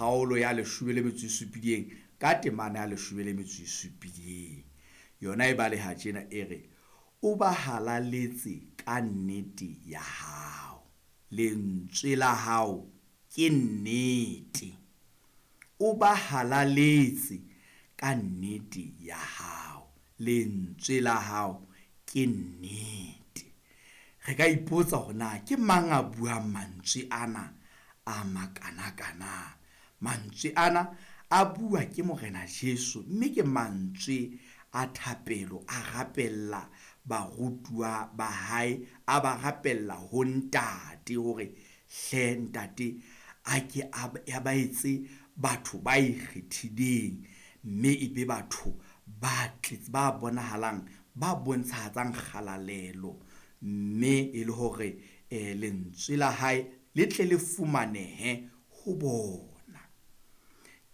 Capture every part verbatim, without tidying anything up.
kgaolo ya leshome le metso e supileng ka temana ya leshome le metso e supileng. Yona e baleha tjena e re, o ba halaletse ka nnete ya hao, lentswe la hao ke nnete. O ba halaletse ka nnete ya hao, lentswe la hao ke nnete. Re ka ipotsa hore na ke mang a buang mantswe ana a makanakana. Mantswe ana a bua ke Morena Jesu, mme ke mantswe a thapelo, a rapella barutuwa ba hae, a ba rapella ho Ntate hore hle Ntate a ke a ba etse batho ba ikgethileng, mme e be batho ba tletse, ba bonahalang, ba bontshahatsang kgalalelo, mme e le hore eh lentswe la hae le tle le fumanehe ho bona.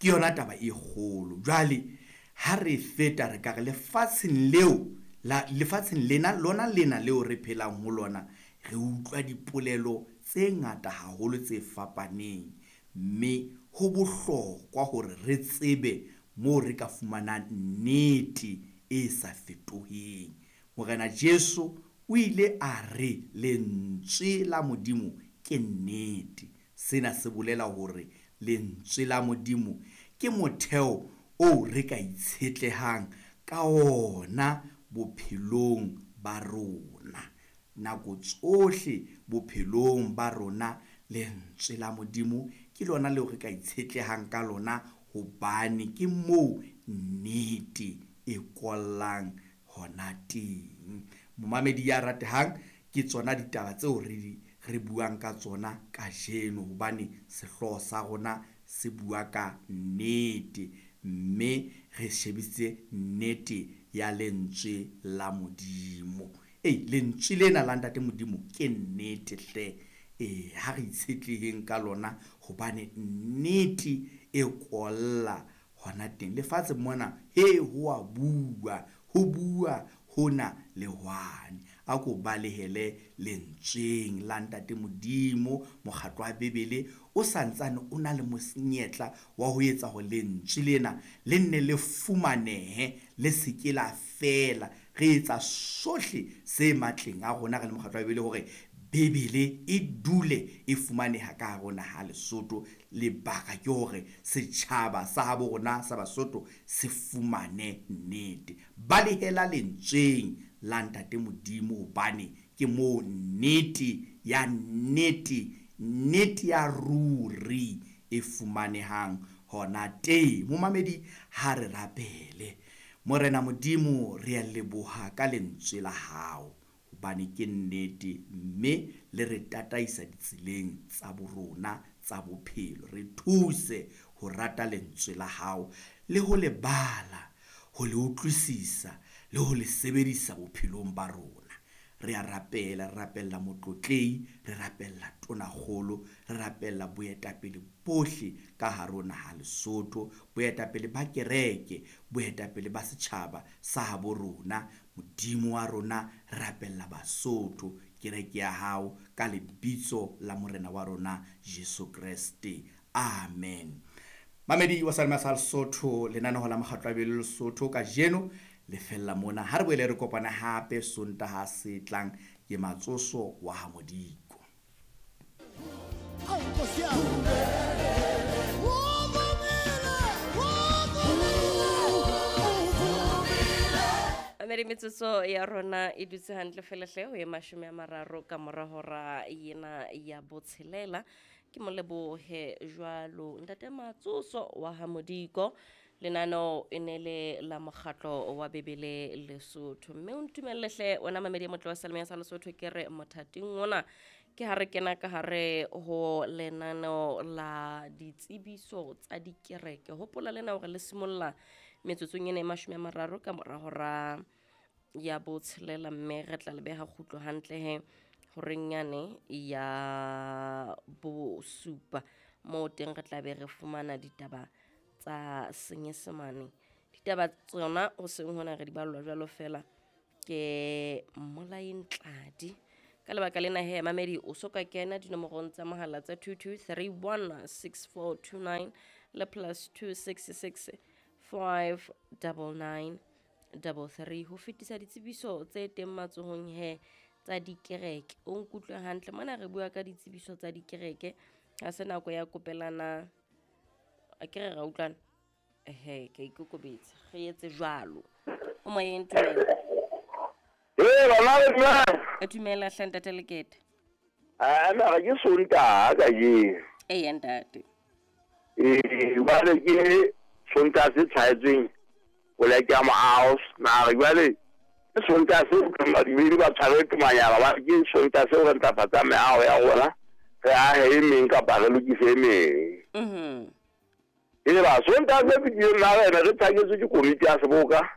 Ke yona taba e kgolo. Jwale ha re feta re ka re lefatsheng leo la lefatsheng lena lona lena leo re phelang ho lona, re utlwa dipolelo tse ngata haholo tse fapaneng, mme ho bohlokwa hore re tsebe moo re ka fumanang nnete e sa fetoheng. Morena Jesu o ile a re lentswe la Modimo ke nnete. Sena se bolela hore lentswe la Modimo ke motheo oo re ka itshetlehang ka ona bophelong ba rona. Nako tsohle bophelong ba rona lentswe la Modimo ke lona leo re ka itshetlehang ka lona, hobane ke moo nnete e kollang hona teng. Momamedi ya ratehang, ke tsona ditaba tseo re di re buang ka tsona kajeno, hobane sehlooho sa rona se bua ka nnete, mme re shebisitse nnete ya lentswe la Modimo. Ei, lentswe lena la Ntate Modimo ke nnete hle. Eh, ha re itshetleheng ka lona, hobane nnete e kolla hona teng. Lefatshe mona, he, ho a bua, ho bua hona le hwane. A ko balehele lentsweng la Ntate Modimo. Mokgatlo wa Bebele o santsane o na le monyetla wa ho etsa hore lentswe lena le nne le fumanehe, le se ke la fela. Re etsa sohle se matleng a rona re le mokgatlo wa Bebele hore Bebele e dule e fumaneha ka hare ho naha Lesotho. Lebaka ke hore setjhaba sa habo rona sa Basotho se fumane nnete. Balehela lentsweng la Ntate Modimo, hobane ke moo nnete ya nnete, nnete ya ruri e fumanehang hona teng. Momamedi, ha re rapele. Morena Modimo, re a leboha ka lentswe la hao, hobane ke nnete, mme le re tataisa ditseleng tsa borona tsa bophelo. Re thuse ho rata lentswe la hao le ho le bala, ho le utlwisisa le ho le sebedisa bophelong ba rona. Re a rapela, re rapella motlotlehi, re rapella tonakgolo, re rapella boetapele bohle ka hare ho naha Lesotho, boetapele ba kereke, boetapele ba setjhaba sa habo rona. Modimo wa rona, re rapella Basotho, kereke ya hao, ka lebitso la Morena wa rona Jesu Kreste. Amen. Mamedi wa Salema sa Lesotho, lenaneo la Mokgatlo wa Bibele Lesotho kajeno le fella mona. Ha re boele re kopana hape Sontaha se tlang. Ke Matsoso wa ha Modiko. Mamedi, metsotso ya rona e dutse hantle fela hle ho e mashome a mararo ka mora hora ena ya botshelela. Ke mo lebohe jwalo Ntate Matsoso wa ha Modiko. Lenaneo e ne le la Mokgatlo wa Bebele Lesotho. Mme o ntumelle hle wena mamedi ya motle wa Salema sa Lesotho, ke re mothating ona ke ha re kena ka hare ho lenaneo la ditsebiso tsa dikereke. Hopola lena hore le simolla metsotsong ena e mashome a mararo ka mora hora ya botshelela, mme re tla le beha kgutlo hantle he horeng yane ya bosupa, moo teng re tla be re fumana ditaba tsa Senyesemane. Ditaba tsona ho seng hona re di ballwa jwalo fela ke Mmolai Ntladi. Ka lebaka lena he mamedi, o so ka kena dinomorong tsa mohala tsa two two three one six four two nine Le plus two six six five double nine double three. Ho fetisa ditsebiso tse teng matsohong he tsa dikereke. O nkutlwe hantle mona re bua ka ditsebiso tsa dikereke. Ha se nako ya kopelana a ke re ra utlwana. Ehe, ke ikokobetsa. Re etse jwalo. O moyeng tumela. Eh, bana le nna. E dumela hle ntate Lekete. Ah, na ke Sontaha kajeno. Eya ntate. Eh, jwale ke Sontaha se tshwaetsweng poleke ya moaho. Na re jwale ke Sontaha se badumedi ba tshwarwe ke manyala ba ke Sontaha seo re ntlafatsang meaho ya rona. Re ahe e meng kapa re lokise e meng. Mhm. E ba Sontaha se fetileng na rena re tshaketswe ke komiti ya seboka.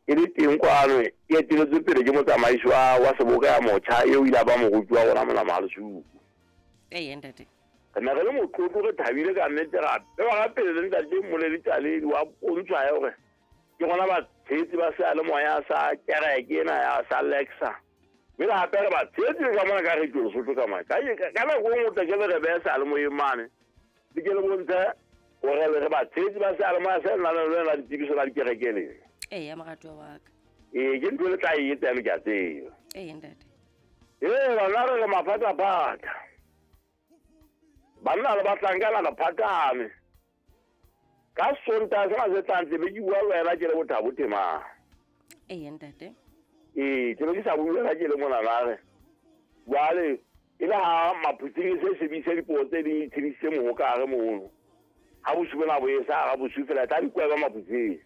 E le teng kwano e eteletswe pele ke motsamaisi wa wa seboka ya motjha eo ile a ba moruti wa rona mona Mahalesuku. Eya ntate. Re ne re le motlotlo re thabile ka nnete gape ba ga pele le ntate Mmoledi Tlaledi wa pontshwa ya hore ke rona batshehetsi ba seyalemoya sa kereke ena ya sa Lexa. Mme le hape re batshehetsi ka mona ka Radio Lesotho ka mane. Ka ka nako e nngwe o tla ke le re behe seyalemoyeng mane. Le ke le bontshe hore re batshehetsi ba seyalemoya se nang le lona ditsebiso tsa dikereke lena. Eya moratuwa wa ka. Ee, ke ntho e le tla e etsa eno ke a tseba. Eya ntate. Ee, bana re re maphataphatha. Banna le bahlankana le phathame. Ka Sontaha sena se tlang tle be ke bua le wena ke le Bothabo Temang. Eya ntate. Ee, ke be ke sa bue le wena ke le mona re. Jwale e le ha Maphutsing se sebedise dipuo tse ding e tshedisitse moho ka hare mono. Ha bosiu bona bo e sa ha bosiu fela tla di kweba Maphutsing.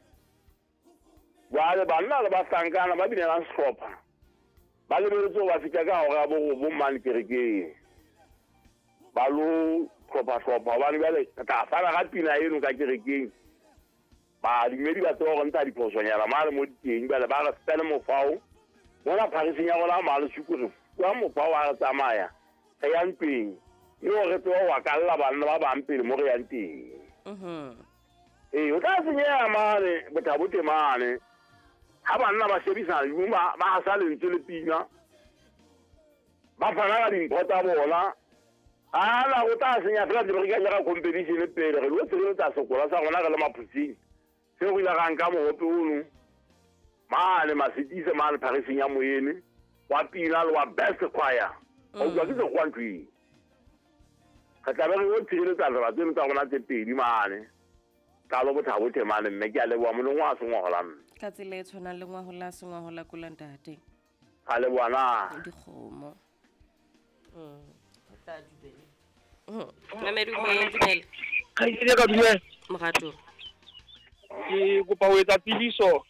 Jwale banna le bahlankana ba binelang sehlopha ba lebeletse ho ba fihla ka hora ya borobong mane kerekeng. Ba lo hlopha-hlopha hobane jwale re tla fana ka pina eno ka kerekeng. Badumedi ba tseba hore ntsha diphosonyana mane mo diteng jwale ba re fele mofao. Mona phariseng ya rona Mahalesuku re fuwa mofao ha re tsamaya re ya ntweng. E le hore re tsebe ho akalla banna ba bang pele mo re yang teng. Mhm. Ee, o tla senyeha mane Bothabo Temane. Ha banna ba shebisana le ba ba hasa lentswe le pina. Ba fana ka dimpho tsa bona. Ala o tla senya fela re ka jara competition pele re lo tshireletsa sekolo sa rona re le Maphutsing. Seo re ile ra nka mohope ono mane Masitise mane phariseng ya Moyene wa pina le wa best choir. O utlwa ke sekgowa ntho eo. Re tla be re yo tshireletsa tsela tseno tsa rona tse pedi mane. Tlalo Bothabo Temane mme ke a leboha molong wa sengwahola mme. Ka tsela e tshwanang le ngwahola sengwahola kula ntate. Ka leboha na. Dikgomo. Mm. Re tla dumela. Mm. Mamedi o moyeng dumela. Kgaitsedi ka dumela. Morato. Ke kopa ho etsa tsebiso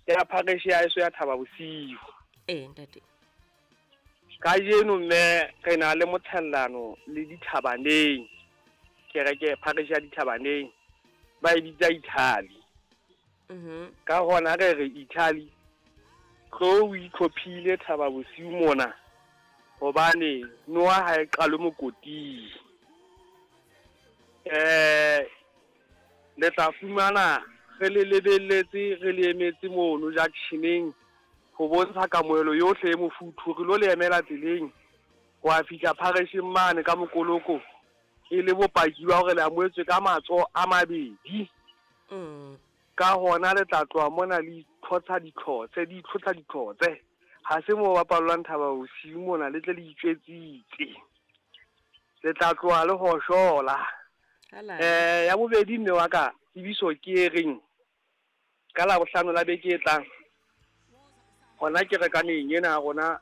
ya parish ya heso ya Thaba Bosiu. Ee ntate. Kajeno mme re na le motshellano le dithabaneng. Kereke parish ya dithabaneng ba e bitsa Italy. Mhm. Ka hona re re Italy tlo o itlhophile Thaba Bosiu mona hobane noa ha e qalwe mokoting. Eh le tla fumana re le lebelletse re le emetse mono junctioneng ho bontsha kamohelo yohle e mofuthu re lo le emela tseleng ho a fihla pharesheng mane ka mokoloko e le bopaki ba hore le amohetswe ka matsoho a mabedi. Mm. Ka hona le tla tloha mona le itlhotsa ditlhotse di itlhotsa ditlhotse ha se mo bapallwang Thaba Bosiu mona le tle le itswetsitse le tla tloha le hoshola. Hala. Eh ya bobedi mme wa ka tsebiso ke e reng ka Labohlano la beke e tlang hona kerekaneng ena ya rona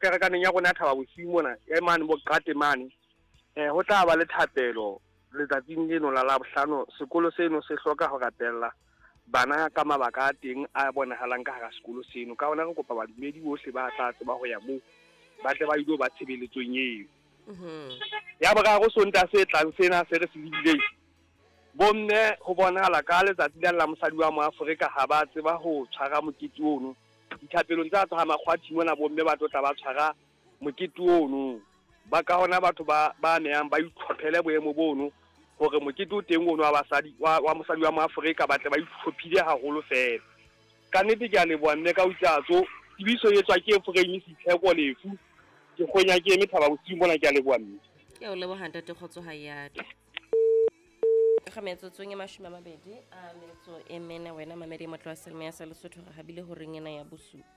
kerekaneng ya rona ya Thaba Bosiu mona e mane bo Qate mane eh ho tla ba le thapelo letsatsing leno la Labohlano. Sekolo seno se hloka ho rapella bana ka mabaka a teng a bonahalang ka hara sekolo seno. Ka hona re kopa badumedi bohle ba tla tseba ho ya moo ba tle ba ilo ba tshebeletsong eo. Mhm. Ya boraro Sontaha se tlang sena se re se lebileng bomme ho bonahala ka letsatsi la la mosadi wa Moafrika ha ba tseba ho tshwara mokete ono. Dithapelong tsa tsa Makgwathi mona bomme ba tlo tla ba tshwara mokete ono. Ba ka hona batho ba ba amehang ba itlhophele boemo bono hore mokete o teng ono wa basadi wa, wa mosadi wa Moafrika ba tle ba itlhophile haholo fela. Ka nnete ke a leboha mme ka utlwatso tsebiso e etswa ke Efraim Sitheko Lefu. Ke kgonya ke eme Thaba Bosiu mona ke a leboha mme. Ke a o leboha ntate Kgotso ha ya. Ga metsotsong e mashome a mabedi a metso e mene, wena mamedi motle wa selemo ya sa Lesotho, re habile horeng ena ya bosupa.